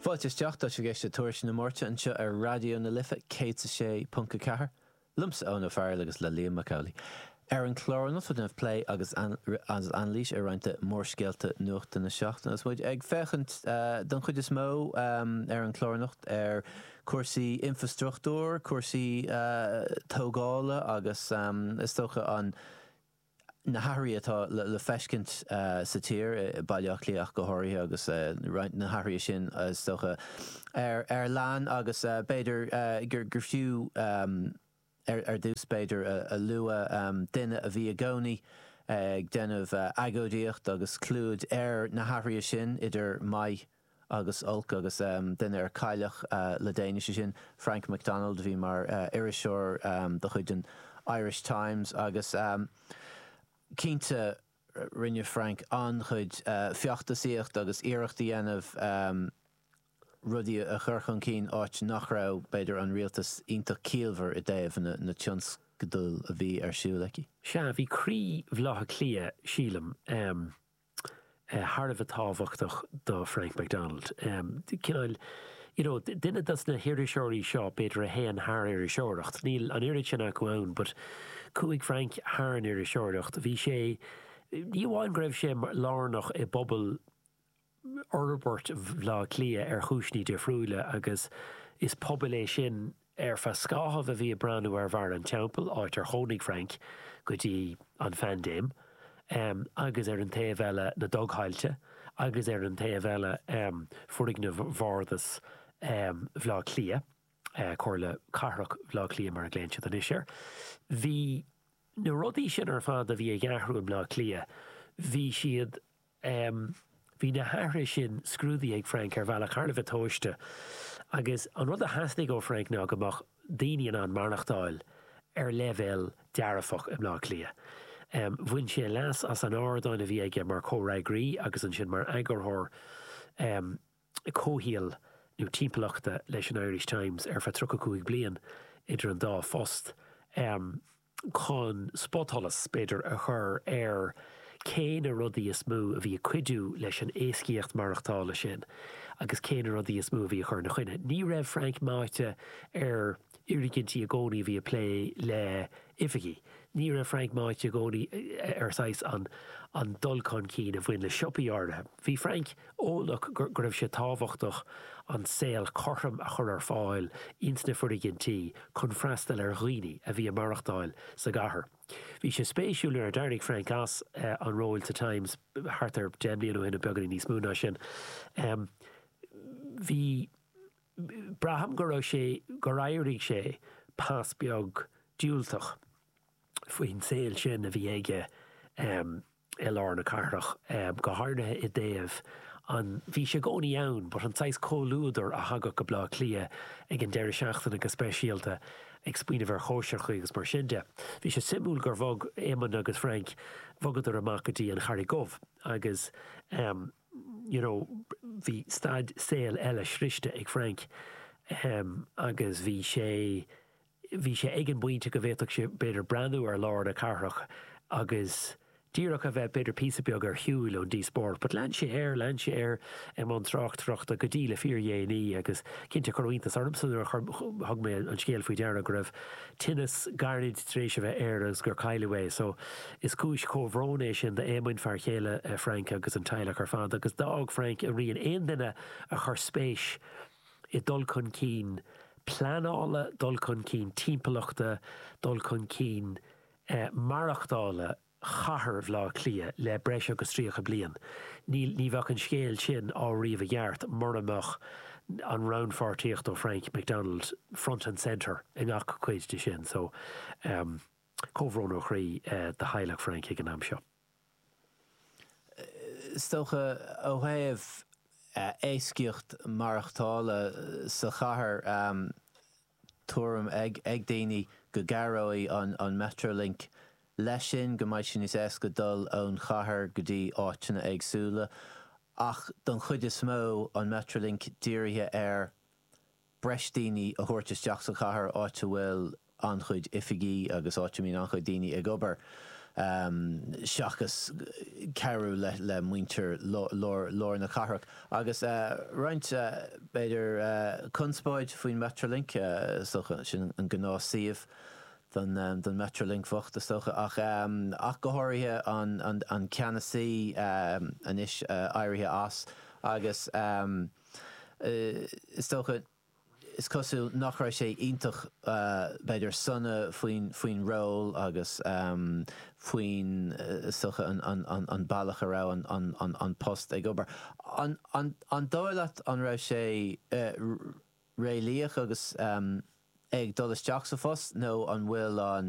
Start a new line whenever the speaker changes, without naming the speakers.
Fáilte isteach, tá sibh ag éisteacht le Tuairisc na Máirte anseo ar Raidió na Life 106.4, liomsa Eoin Ó Fearghail agus le Liam Mac Amhlaigh. Ar an chlár anocht ag déanamh plé agus anailís ar roinnt de mhórscéalta nuachta na seachtaine agus muid ag féachaint don chuid is mó ar an chlár anocht ar chúrsaí infrastruchtúir, cúrsaí tógála agus is dócha an na hathruithe atá le feiscint sa tír, i Baile Átha Cliath ach go háirithe, agus roinnt na hathruithe sin, is dócha, ar lean agus b'fhéidir gur fiú ar dtús, b'fhéidir, a lua duine a bhí i gcónaí ag déanamh agóidíocht agus clúid ar na hathruithe sin, idir maith agus olc agus duine ar cailleadh le déanaí, sé sin Frank McDonald a bhí mar iriseoir de chuid an Irish Times agus cinnte rinne Frank an-chuid feachtasaíocht agus iarracht a dhéanamh rudaí a chur chun cinn áit nach raibh, b'fhéidir, an rialtas iontach ciallmhar i dtaobh na tionscadail a bhí ar siúl aici.
Sea, bhí croí Bhaile Átha Cliath, sílim. thar a bheith tábhachtach do Frank McDonald. Cineál, you know, duine dos na hiriseoirí seo, b'fhéidir, a théann thar iriseoireacht. Níl an oiread sin acu ann, but chuaigh Frank thar an iriseoireacht. Bhí sé, ní amháin go raibh sé lárnach i bpobal fhorbairt Bhaile Átha Cliath ar chúiseanna difriúla agus is pobal é sin ar feadh scáthamh a bhí ag breathnú ar Bharr an Teampaill, áit ar chónaigh Frank go dtí an phaindéim, agus ar an taobh eile na dugthailte agus ar an taobh eile foirgnimh Bhardas Bhaile Átha Cliath, Comhairle Cathrach Bhaile Átha Cliath mar a ghlaonn siad anois air. Bhí na rudaí sin ar fad a bhí ag athrú i mBleá Cliath, bhí siad. Bhí na hathruithe sin scrúdaithe ag Frank ar bhealach thar a bheith tomhaiste agus an rud a theastaigh ó Frank ná go mbeadh daoine in ann maireachtáil ar leibhéal dearfach i mBleá Cliath. Bhain sé leas as an ardán a bhí aige mar chomhfhreagraí agus ansin mar eagarthóir comhshaoil nó timpeallachta leis an Irish Times ar feadh 35 bliain idir an dá phost. chun spotsholas, b'fhéidir, a chur ar cé na rudaí is mó a bhí ag cuidiú leis an éascaíocht maireachtála sin agus cé na rudaí is mó a bhí ag cur ina choinne. Ní raibh Frank meáite ar fhoirgintí i gcónaí a bhí ag plé le oifigí. Ní raibh Frank meáite i gcónaí ar saghas an an dul chun cinn a bhain le siopaí áirithe. Bhí Frank eolach go raibh sé tábhachtach an saol cothrom a chur ar fáil ins na foirgintí chun freastal ar dhaoine a bhí ag maireachtáil sa gcathair. Bhí sé spéisiúil nuair a d'éirigh Frank as an ról sa Times thart ar 10 mbliana ó shin nó beagáinín níos mó ná sin, bhí, braithim go raibh sé, gur éirigh sé pas beag diúltach faoin saol sin a bhí aige. i lár na cathrach, go háirithe i dtaobh an, bhí sé i gcónaí ann, but an saghas comhluadar a thagadh go Bleá Cliath ag an deireadh seachtaine go speisialta, ag smaoineamh ar chóisireacha agus mar sin de. Bhí sé suimiúil gur bhog Éamonn agus Frank, bhogadar amach go dtí an Charraig Dhubh agus you know bhí staid saoil eile sroiste ag Frank agus bhí sé, Bhí sé ag an bpointe go bhféadfadh sé, b'fhéidir, breathnú ar lár na cathrach agus díreach a bheith, b'fhéidir, píosa beag ar shiúil ón díospóireacht. But lean sé air, lean sé air i mbun tráchtaireachta go dtí le fíordhéanaí agus cinnte cuireadh iontas ormsa nuair a thug mé an scéal faoi deara go raibh tinneas gairid tar éis a bheith air agus gur cailleadh é. So is cúis chomhbhróin é sin d'Éamoinn, fear chéile Frank agus an teaghlach ar fad agus d'fhág Frank a rian. Aon duine a chuir spéis i dul chun cinn pleanála, dul chun cinn timpeallachta, dul chun cinn maireachtála chathair Bhaile Átha Cliath le breis agus 30 bliain. Níl, ní bheadh an scéal sin á ríomh i gceart mura mbeadh an rannpháirtíocht ó Frank McDonald front and centre i ngach cuid de sin. So, comhbhrón ó chroí do theaghlach Frank ag an am seo.
Is dócha, ó thaobh éascaíocht maireachtála sa chathair, tuairim ag daoine go gcabhróidh an Metrolink leis sin, go mbeidh sé níos éasca dul ón chathair go dtí áiteanna éagsúla. Ach don chuid is mó, an Metrolink dírithe ar breis daoine a thabhairt isteach sa chathair, áit a bhfuil an-chuid oifigí agus áit a mbíonn an-chuid daoine ag obair. Seachas cabhrú le muintir lár na cathrach. Agus roinnt, b'fhéidir, conspóid faoin Metrolink, is dócha, sin an gnáth-suíomh don Metrolink bhocht, is dócha, ach ach go háirithe an ceannasaí anois éirithe as agus is dócha, is cosúil nach raibh sé iontach, b'fhéidir, sona faoin, faoin ról agus faoin, is dócha, an bealach a raibh an post ag obair. An, an, an dóigh leat an raibh sé réalaíoch agus é ag dul isteach sa phost nó an bhfuil an.